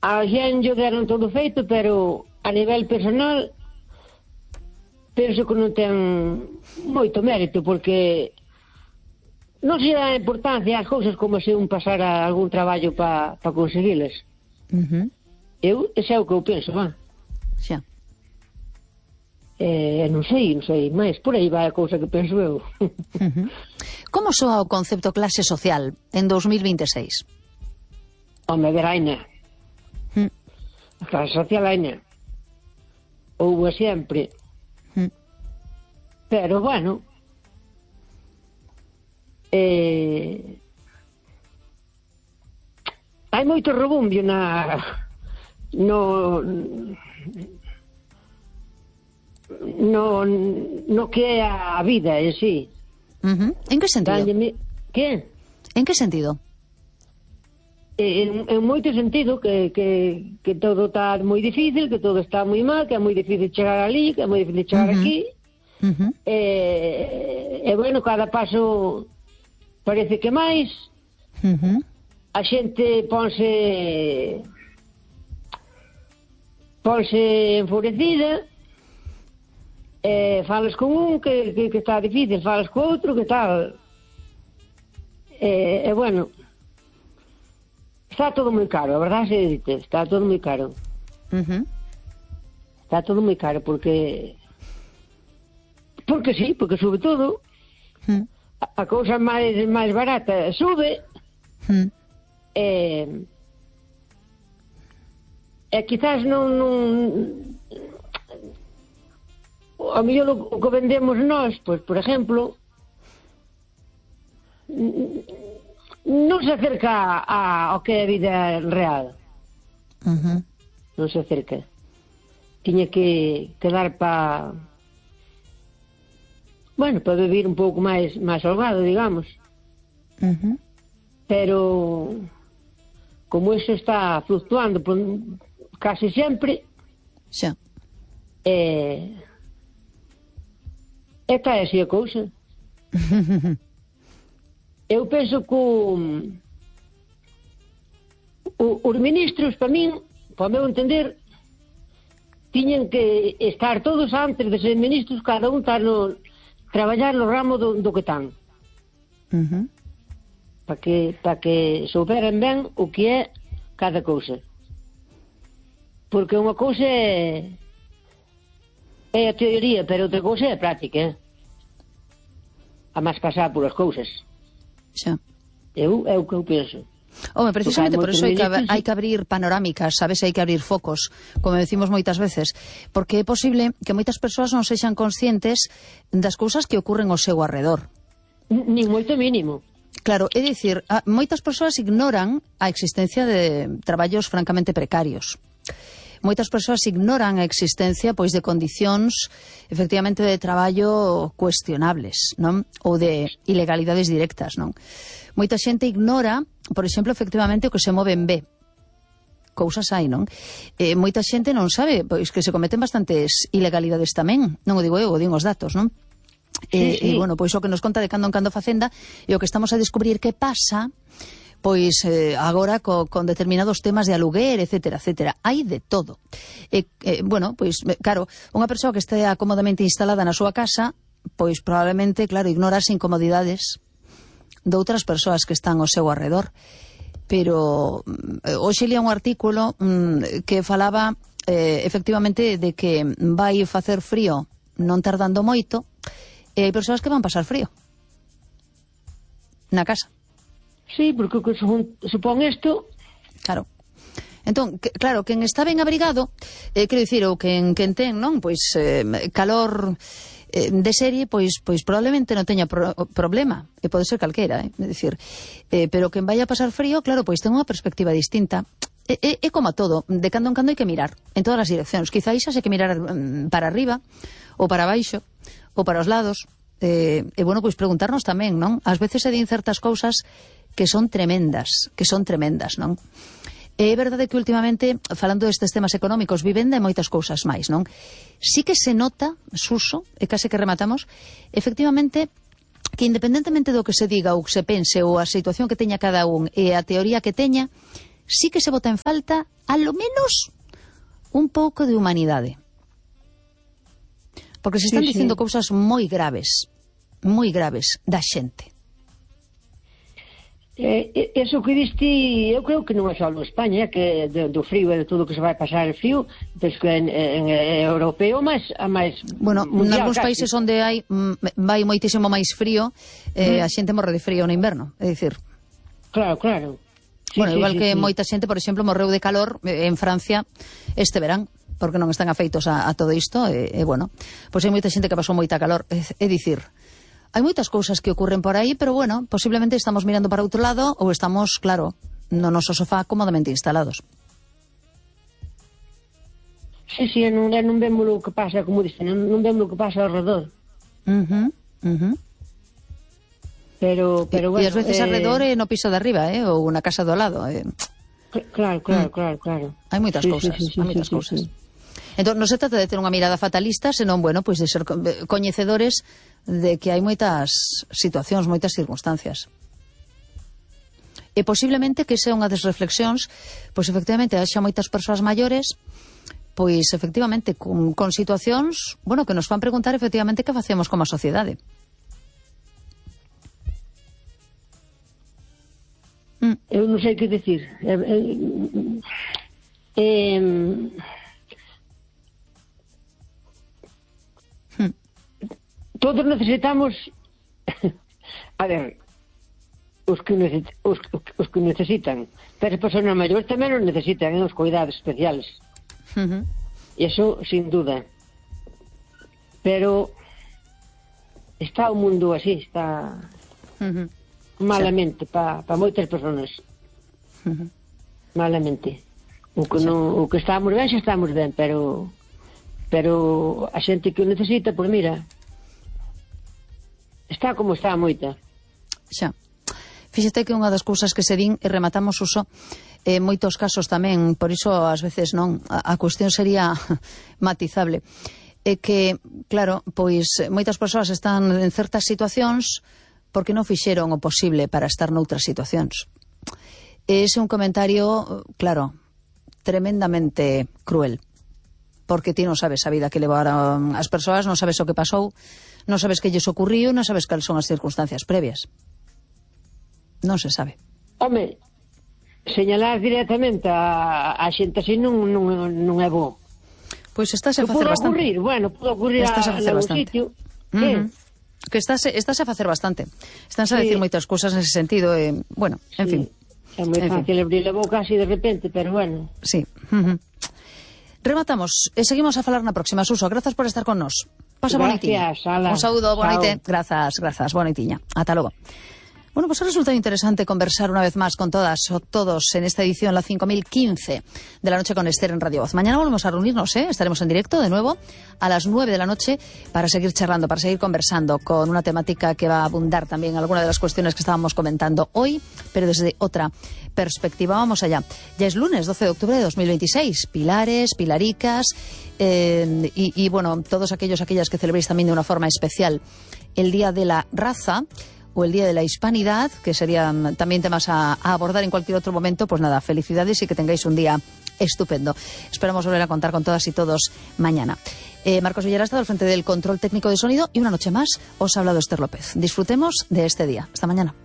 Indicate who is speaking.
Speaker 1: A xen yo deron todo feito, pero a nivel personal penso que non ten moito mérito, porque non se dá importancia ás cousas como se un pasara algún traballo para conseguilas. Ese é o que eu penso, va.
Speaker 2: Xa.
Speaker 1: Non sei, mas por aí vai a cousa que penso eu.
Speaker 2: Como soa o concepto clase social en 2026?
Speaker 1: Home, veraina. A clase social aina. Houve sempre. Pero, bueno, hai moito rebumbio no que é a vida en sí.
Speaker 2: En que sentido?
Speaker 1: Que?
Speaker 2: En que sentido?
Speaker 1: En moito sentido que todo está moi difícil, que todo está moi mal, que é moi difícil chegar ali, que é moi difícil chegar aquí. Bueno, cada paso parece que máis. A xente ponse enfurecida, falas con un que está difícil, falas co outro que tal. Bueno, está todo moi caro, a verdade se dite, está todo moi caro. Está todo moi caro porque sí, porque sube todo. A cousa máis barata sube. Quizás non a mellor o que vendemos nós, pois, por exemplo, non se acerca ao que é a vida real. Non se acerca. Tiña que dar para vivir un pouco máis holgado, digamos. Pero como eso está fluctuando casi sempre,
Speaker 2: xa.
Speaker 1: Esta é así a cousa. Eu penso que os ministros, para min, para o meu entender, tiñen que estar todos antes de ser ministros, cada un traballar no ramo do que tan. Para que souberan ben o que é cada cousa. Porque unha cousa é a teoría, pero outra cousa é a práctica. A máis pasar polas cousas.
Speaker 2: Xa.
Speaker 1: É o que eu penso.
Speaker 2: Home, precisamente por iso hai que abrir panorámicas, sabes, hai que abrir focos, como decimos moitas veces, porque é posible que moitas persoas non sexan conscientes das cousas que ocurren ao seu arredor.
Speaker 1: Nin moito mínimo.
Speaker 2: Claro, é dicir, moitas persoas ignoran a existencia de traballos francamente precarios. Moitas persoas ignoran a existencia, pois, de condicións, efectivamente, de traballo cuestionables, non? Ou de ilegalidades directas, non? Moita xente ignora, por exemplo, efectivamente, o que se move en B. Cousas hai, non? Moita xente non sabe, pois, que se cometen bastantes ilegalidades tamén. Non o digo eu, o digo os datos, non?
Speaker 1: Sí.
Speaker 2: Bueno, pois o que nos conta de cando en cando Facenda e o que estamos a descubrir que pasa, pois agora con determinados temas de aluguer, etcétera, etcétera. Hai de todo. Bueno, pois, claro, unha persoa que este acomodamente instalada na súa casa, pois probablemente, claro, ignora as incomodidades de outras persoas que están ao seu arredor. Pero hoxe lia un artículo que falaba efectivamente de que vai facer frío non tardando moito, e hai persoas que van pasar frío na casa.
Speaker 1: Sí, porque o que supón isto...
Speaker 2: Claro. Entón, claro, quen está ben abrigado, quero dicir, ou quen ten, non? Pois calor de serie, pois probablemente non teña problema, e pode ser calquera, é dicir, pero quen vai a pasar frío, claro, pois ten unha perspectiva distinta. É como a todo, de cando en cando hai que mirar en todas as direccións. Quizáis hai que mirar para arriba, ou para baixo, ou para os lados, e bueno, pois preguntarnos tamén, non? Ás veces se din certas cousas que son tremendas, non? É verdade que últimamente, falando destes temas económicos, vivenda e moitas cousas máis, non? Sí que se nota, Suso, e case que rematamos, efectivamente, que independentemente do que se diga ou que se pense ou a situación que teña cada un e a teoría que teña, sí que se bota en falta, a lo menos, un pouco de humanidade. Porque se están dicindo cousas moi graves da xente.
Speaker 1: Eso que diste, eu creo que non é só en España, que do frío e de todo o que se vai pasar el frío, penso que en europeo a máis
Speaker 2: bueno, nalgúns países onde vai moitísimo máis frío, a xente morre de frío no inverno, é dicir.
Speaker 1: Claro. Sí,
Speaker 2: bueno, igual que moita xente, por exemplo, morreu de calor en Francia este verán, porque non están afeitos a todo isto, bueno, pois hai moita xente que pasou moita calor, é dicir, hai moitas cousas que ocurren por aí, pero bueno, posiblemente estamos mirando para outro lado ou estamos, claro, no noso sofá cómodamente instalados.
Speaker 1: Sí, non vemos o que pasa, como dicen, non vemos o que pasa ao redor. Pero bueno...
Speaker 2: E ás veces alrededor no piso de arriba, ou na casa do lado.
Speaker 1: Claro.
Speaker 2: Hai moitas cousas, hai moitas cousas. Entón, non se trata de ter unha mirada fatalista, senón, bueno, pois de ser coñecedores de que hai moitas situacións, moitas circunstancias. E posiblemente que sea unha das reflexións, pois efectivamente, haxa moitas persoas maiores, pois efectivamente, con situacións, bueno, que nos fan preguntar efectivamente que facemos como a sociedade.
Speaker 1: Eu non sei que dicir. Todos necesitamos a ver, os que necesitan, pero as persoas maiores tamén os necesitan, os cuidados especiales. E iso sin duda, pero está o mundo así, está malamente para moitas persoas, malamente. O que estamos ben, xa estamos ben, pero a xente que o necesita, pois mira, está como está moita.
Speaker 2: Xa. Fíxate que unha das cousas que se din, e rematamos uso, moitos casos tamén, por iso ás veces non, a cuestión sería matizable, é que, claro, pois moitas persoas están en certas situacións porque non fixeron o posible para estar noutras situacións. Ese é un comentario, claro, tremendamente cruel, porque ti non sabes a vida que levaron as persoas, non sabes o que pasou, non sabes que lles ocurriu, non sabes cales son as circunstancias previas. Non se sabe.
Speaker 1: Home, señalar directamente a xente así non é bo.
Speaker 2: Pois estás a facer bastante.
Speaker 1: Pode ocurrir a sitio.
Speaker 2: Que estás a facer bastante. Estás a decir moitas cousas nese sentido, bueno, en fin.
Speaker 1: É moi fácil abrir a boca así de repente, pero bueno.
Speaker 2: Sí. Rematamos e seguimos a falar na próxima. Suso, grazas por estar con nos. Pasa bonitiña. Un saúdo, boa noite. Grazas, boa noitiña. Ata logo. Bueno, pues ha resultado interesante conversar una vez más con todas o todos en esta edición, la 5015 de la noche con Esther en Radio Voz. Mañana volvemos a reunirnos, estaremos en directo de nuevo a las 9 de la noche para seguir charlando, para seguir conversando con una temática que va a abundar también alguna de las cuestiones que estábamos comentando hoy, pero desde otra perspectiva. Vamos allá. Ya es lunes 12 de octubre de 2026. Pilares, pilaricas y bueno, todos aquellas que celebréis también de una forma especial el Día de la Raza o el Día de la Hispanidad, que serían también temas a abordar en cualquier otro momento, pues nada, felicidades y que tengáis un día estupendo. Esperamos volver a contar con todas y todos mañana. Marcos Villar ha estado al frente del control técnico de sonido y una noche más os ha hablado Esther López. Disfrutemos de este día. Hasta mañana.